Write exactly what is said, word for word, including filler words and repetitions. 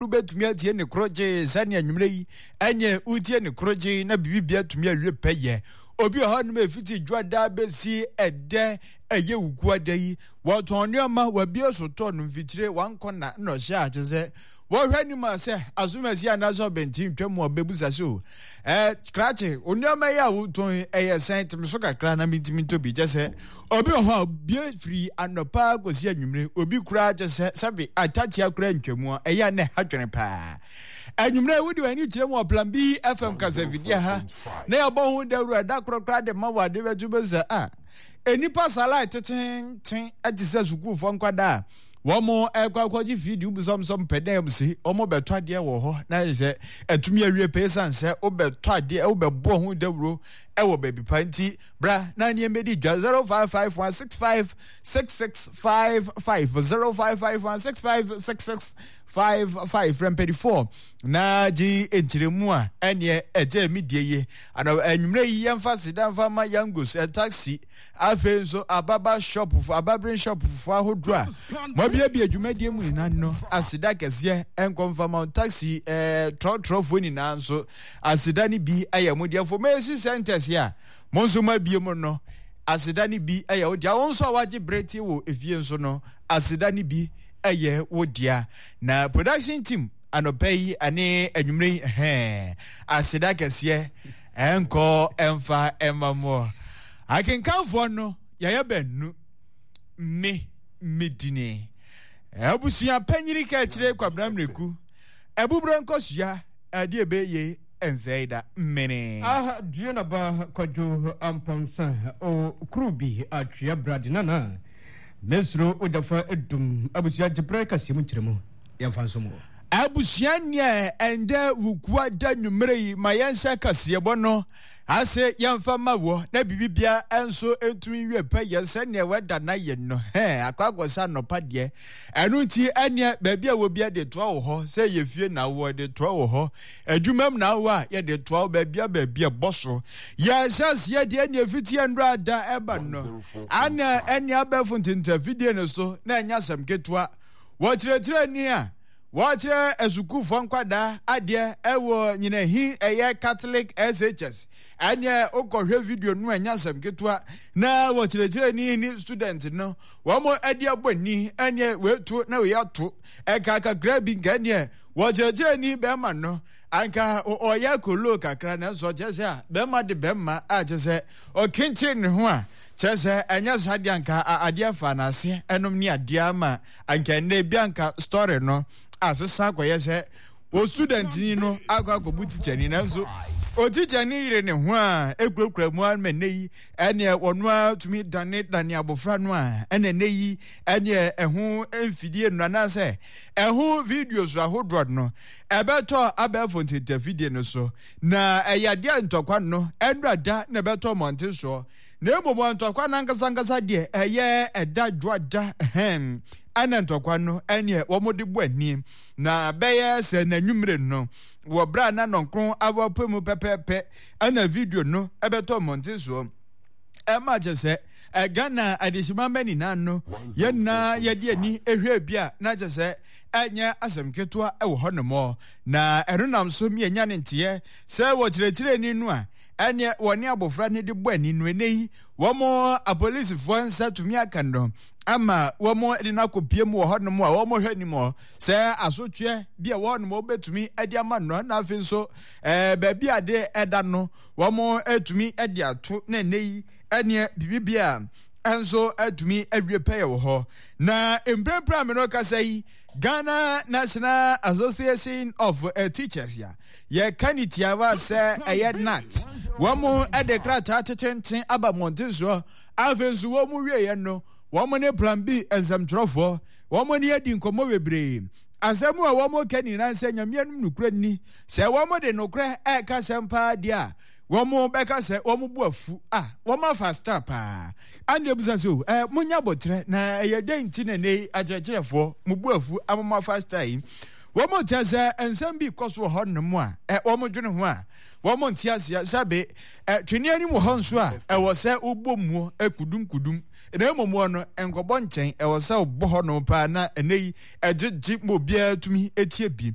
Wobɛtumi atie ne korogyee sɛnea anwummerɛ yi ɛneɛ wotie ne korogyee na biribi atumi awie pɛyɛ. Obi wɔ hɔnom ɛfiti dwoada bɛsi ɛdɛ ɛyɛ wukuada yi, wɔtɔn nneɛma, wabie so tɔ no mfikyire wankɔ na na ɔhyɛ akyɛ sɛ wɔhwɛ anim a sɛ asomasi anaasɛ ɔbɛnten twa mu a ɔbɛbusa so ɛɛ krakye wo nneɛma yi a wotɔn yi ɛyɛ sɛn, teme so kakra na mentumi ntɔ bi. Kyɛ sɛ obi wɔ hɔ a obie firi anɔpa kɔsi anwummere, obi koraa kyɛ sɛ sɛbe atatea koraa ntwamu a ɛyɛ a na ɛha dwene paa. Anwummere wode w'ani kyerɛ mu wɔ Plan B F M kasafidie ha na yɛbɔ ho dawuro ɛda korɔ koraa de ma wɔ ade bɛto bɛ sɛ a nnipa salai tetenten te sɛ sukuufoɔ nkwadaa a wɔn ɛkɔ akɔgye fidi wobisɔmsɔm pɛ dɛ se wɔn bɛtɔ adeɛ wɔ hɔ na ayɛ sɛ atumi awie pɛ esan sɛ wobɛtɔ adeɛ wobɛbɔ ho dawuro ɛwɔ baabi pa nti bra na nneɛma di dwa zero five five one six five six six five five zero five five one six five six six five five frɛ mpanyinfoɔ na gye nkyerɛmu a ɛneɛ ɛgye mi die yie ana anwummerɛ yi yɛmfa sida mfa ma yangos taxi afei nso ababa shop ababere shop fo ahodoɔ a moabiabia dwumadie mu nyinaa no aseda kɛseɛ ɛnkɔ mfa ma taxi ɛɛ trɔtrɔfoɔ nyinaa nso aseda no bi ɛyɛ mo deɛ information centers a mo nso moabie mu no aseda no bi ɛyɛ wo deɛ wo nso a wagye bere tie wɔ efie nso no aseda no bi ɛyɛ wo dea na production team anɔpa yi ane anwummerɛ yi hɛn aseda kɛseɛ ɛnkɔ ɛmfa ɛma mo akenkanfoɔ no yɛyɛ bɛnu me medini abusua panyini ka akyire Kwabena Mmireku abuburo nkɔsua adeɛ bɛyɛ ɛnsɛe da mmene. Aha dua na ba Kwadwo Ampɔnsa o kuru bi atwea brade nana mesuro ogyafa edum abusua gyebrɛ kaseɛ mu nkyerɛmu yɛmfa nso mu. Abusua neɛ ɛndɛ wukua da nwummerɛ yi ma yɛnhyɛ kaseɛbɔ no ase yɛmfa ma wɔ na biribibia nso ntumi nwie pɛ yɛ sɛneɛ wɛda na yɛ no hɛ akɔ akɔsa nnɔpa deɛ ɛno nti ɛneɛ baabi a wɔbia de toa wɔ hɔ sɛ yɛ fie na wɔ de toa wɔ hɔ adwuma mu na wɔ a yɛde toa wɔ baabi a baabi a bɔ so yɛhyɛ aseɛ deɛ ɛneɛ fiti ɛnora da ɛba no ana ɛneɛ abɛɛfo ntentafidie no so na ɛnyɛ asɛm ketewa wɔkyerɛkyerɛ ni a wɔkyerɛ asukuufoɔ nkwadaa adeɛ ɛwɔ nyinahi ɛyɛ Catholic S H S ɛneɛ wokɔhwɛ video no ɛnyɛ asɛm ketewa na wɔkyerɛkyerɛ ni ne student no wɔn adi abɔ ni ɛneɛ wetu na wei ato ɛka kakra bi nka ɛneɛ wɔkyerɛkyerɛ ni bɛrima no anka ɔyɛ kolo kakra nanso ɔkyerɛ sɛ a bɛrima de bɛrima a kyerɛ sɛ ɔkenkyen ne ho a kyerɛ sɛ ɛnyɛ saa deɛ anka adeɛ fa n'ase ɛnom ne adeɛ ama anka ɛnɛ bi anka story no asesa akɔyɛ sɛ o student ni no akɔ akɔbu teacher ni nanso o teacher ni yere ne ho a ekurakura mu ama ɛnɛ yi ɛneɛ wɔn a tumi dane dane abɔfra no a ɛna ɛnɛ yi ɛneɛ ɛho mfidie no anaasɛ ɛho videos ahodoɔ no ɛbɛtɔ abɛɛfo ntentafidie no so na ɛyɛ adeɛ ntɔkwa no ɛnura da na ɛbɛtɔ mmɔnten soɔ na mmom ntɔkwa no ankasa deɛ ɛyɛ ɛda dwoada hɛn ɛna ntɔkwa no ɛneɛ wɔn de bɔ ani na bɛyɛ sɛ n'anwummerɛ no wɔ berɛ a na nɔnkron awɔpɛ mu pɛpɛɛpɛ ɛna video no ɛbɛtɔ mmɔnten soɔ ɛma kyɛ sɛ Ghana adehyema mma nyinaa no yɛn nyinaa yɛde ani ehwɛ bi a na kyɛ sɛ ɛnyɛ asɛm ketewa ɛwɔ hɔ nom na ɛno nam so mmiɛnya ne nteɛ sɛ wɔkyerɛkyerɛni no a ɛneɛ wɔne abɔfra no de bɔ ani no ɛnɛ yi wɔn apolisifoɔ nsa tumi aka no ama wɔn de no akɔpie mu wɔ hɔnom a wɔn hwɛ anim hɔ sɛ asotweɛ bi a wɔn nom wɔbɛtumi de ama no na afei nso ɛɛ baabi a de ɛda no wɔn atumi de ato na ɛnɛ yi ɛneɛ biribi a ɛnso atumi awie pɛyɛ wɔ hɔ na mprempren a me no kasa yi Ghana National Association of uh, Teachers ya yɛka ne tiawa sɛ ɛyɛ N A T wɔn de krataa tetenten aba mmɔnten soɔ afei nso wɔn wieɛ no wɔn ne Plan B nsɛmtwerɛfoɔ wɔn ne adi nkɔmmɔ bebree asɛm a wɔn ka nyinaa sɛ Nyame anim nokorɛ ni sɛ wɔn de nokorɛ ɛreka sɛm paa deɛ a wɔn bɛka sɛ wɔn bu afu a wɔn afa star paa ande ebusa so ɛ munya bɔtrɛ na ɛyɛ dɛn nti na ne akyerɛkyerɛfoɔ mo bu afu ama mo afa star yi Wɔn kyerɛ sɛ nsɛm bi kɔ so wɔ hɔ nom a ɛ wɔn dwene ho a wɔn nte aseɛ sɛbe ɛ twene anim wɔ hɔ nso a ɛwɔ sɛ wobɔ muo kudum kudum na mmom wɔ no nkɔbɔ nkyɛn, ɛwɔ sɛ wobɔ hɔ nom paa na ɛnɛ yi ɛgyegye ma obiara tumi etie bi.